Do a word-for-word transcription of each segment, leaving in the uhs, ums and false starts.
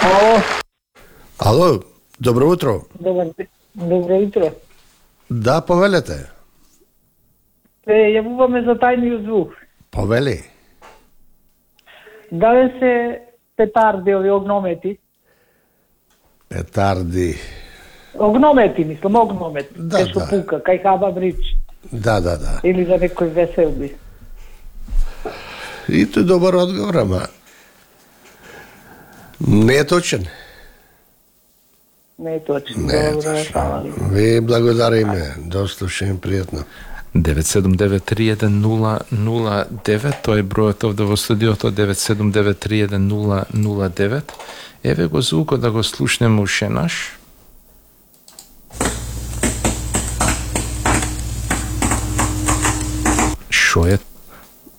Ало. Ало, добро утро. Добро, добро утро. Да, повелете. Се јавуваме за тајниот звук. Повели. Дали се петарди ови огномети? Петарди. Огномети, мислам, огномети. Да, Кај што да. пука, кај хаба брич. Да, да, да. Или за некој веселби. И тој добар одговор, ама не е точен. Не е точно. Не е Добро, точно. фала ви. Ви благодариме. До слушање, пријатно. девет седум девет три еден нула нула девет, тој е бројот овде во студиото, девет седум девет три еден нула нула девет. Еве го звукот да го слушнеме уште наш. Шо е?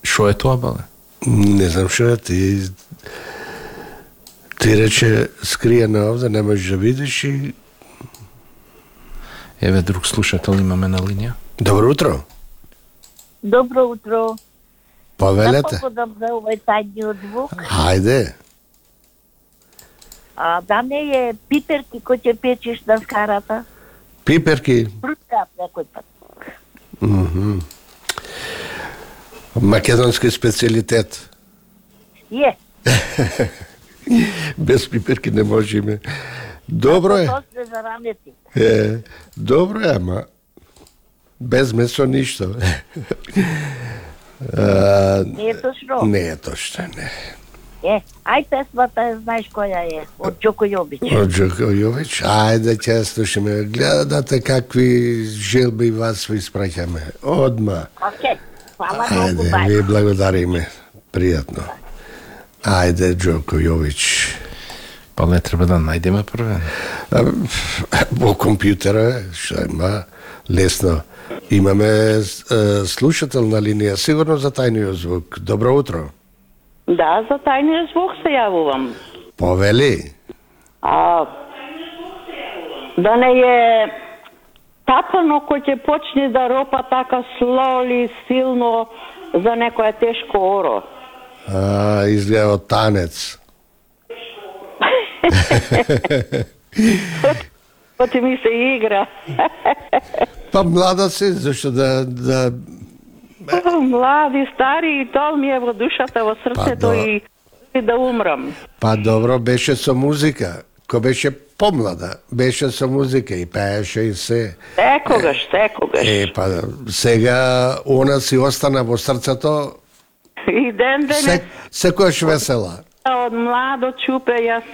Шо е тоа, бале? Не знам што е ти. Ти рече скриено овде, не можеш да видиш и... Еве друг слушател имаме на линија. Добро утро. Добро утро. Повелете. Да попадам за овој тајниот звук. Хајде. А да не е пиперки кој ќе печеш на скарата? Пиперки. Прускав некој пат. Мгм. Македонски специјалитет. Е. Без пиперки не можеме. Добро е. Тоа се за ранети. Е, добро е, ама без месо ништо. А, Не е точно? не е точно, не. Е, ај песмата е, знаеш која е, од Џоко Јобич. Од Џоко Јович, ајде ќе ја слушаме. Гледате какви желби вас ви испраќаме. Одма. Океј, фала многу, Ајде, бај. ви благодариме. Пријатно. Ајде, Џоко Јович. Па не треба да најдеме првен. А, Во компјутера, што има, лесно. Имаме е, слушател на линија, сигурно за тајниот звук. Добро утро. Да, за тајниот звук се јавувам. Повели. А, да не е тапано кој ќе почне да ропа така слоли, силно за некоја тешко оро. А, изгледа од танец. Оти ми се игра. Па млада си, зашто да... да... Млади, стари, и тоа ми е во душата, во срцето Па, и, и да умрам. Па добро, беше со музика. Ко беше помлада, беше со музика и пееше и се. Секогаш, секогаш. Е, па сега она си остана во срцето, И ден денес, се, секојаш весела. од младо чупе, јас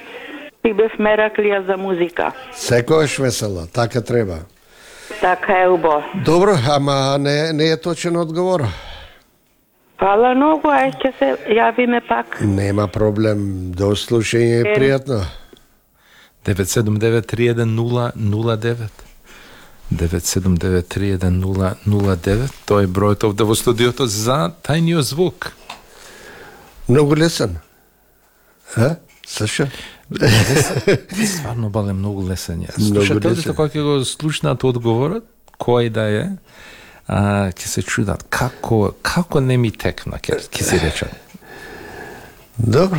си бев мераклија за музика. Секојаш весела, така треба. Така е убаво. Добро, ама не, не е точен одговор. Фала многу, ај ќе се јавиме пак. Нема проблем, до слушање, Е. пријатно. девет седум девет три еден нула нула девет. девет седум девет три еден нула нула девет. Тој е бројот овде во студиото за тајниот звук. Многу лесен. А? Саша? Стварно бале многу лесен ја. Многу Слушателите лесен. кога ќе го слушнат одговорот, кој да е, а, ќе се чудат како како не ми текна, ќе ќе си речат. Добро.